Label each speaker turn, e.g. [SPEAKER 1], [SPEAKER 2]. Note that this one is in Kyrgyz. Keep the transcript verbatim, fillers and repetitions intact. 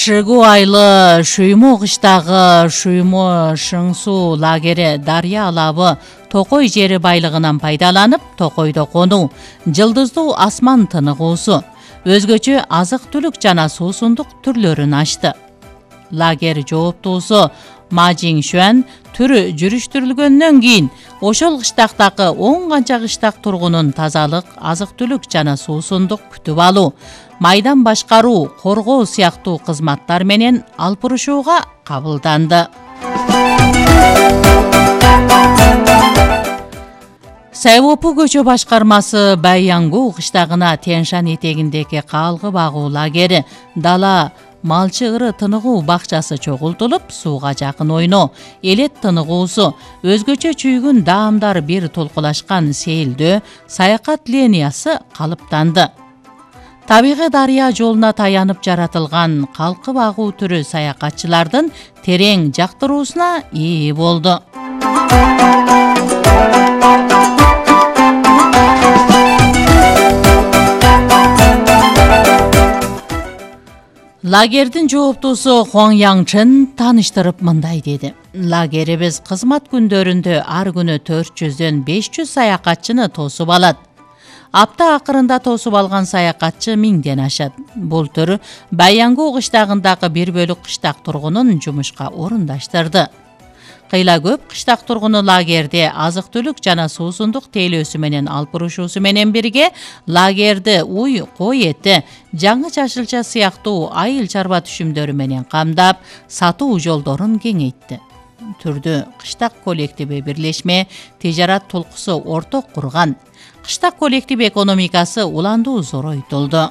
[SPEAKER 1] Шыгу айлы Шуймо кыштагы Шуймо Шыңсу лагери Дарья алабы Токой жери байлыгынан пайдаланып, Токойдо конуу, жылдыздуу асман тыныгуусу, өзгөчө азык-түлүк жана суусундук түрлөрүн ачты. Лагер жооптуусу Ма Жиңшуан түрү жүрүштүрүлгөндөн кийин ошол кыштактагы он канча кыштак тургунун тазалык, азык-түлүк жана суусундук күтүп алуу, майдан башкаруу, коргоо сыяктуу кызматтар менен алпурушууга кабылданды. Сайвопу көчө башкармасы Байянгу кыштагына Тянь-Шань этегиндеги калгы багуу лагери, дала малчы ыры тыныгуу бакчасы чогултулуп, сууга жакын ойноо, элет тыныгуусу, өзгөчө чүйгүн даамдар бир толкулашкан сейилдөө, саякат линиясы калыптанды. Табигый дарыя жолуна таянып жаратылган калкы багуу түрү саякатчылардын терең жактыруусуна ээ болду. Лагердин жооптуусу Хуан Яңчын тааныштырып мындай деди. Лагерибиз кызмат күндөрүндө ар күнү төрт жүздөн беш жүз саякатчыны тосуп алат. Апта акырында тосуп алган саякатчы миңден ашат. Бул төр Байянгу кыштагындагы бир бөлүк кыштак тургунун жумушка орундаштырды. Кыйла көп кыштак тургуну лагерде азык-түлүк жана суусундук тейлөөсү менен алпурушуусу менен бирге лагерди уй, кой эти, жаңы чачылча сыяктуу айыл чарба түшүмдөрү менен камдап, сатуу жолдорун кеңейтти. Түрдү кыштак коллективи бирлешме тижарат толкусу орток курган. Кыштак коллектив экономикасы уландуу зоройтулду.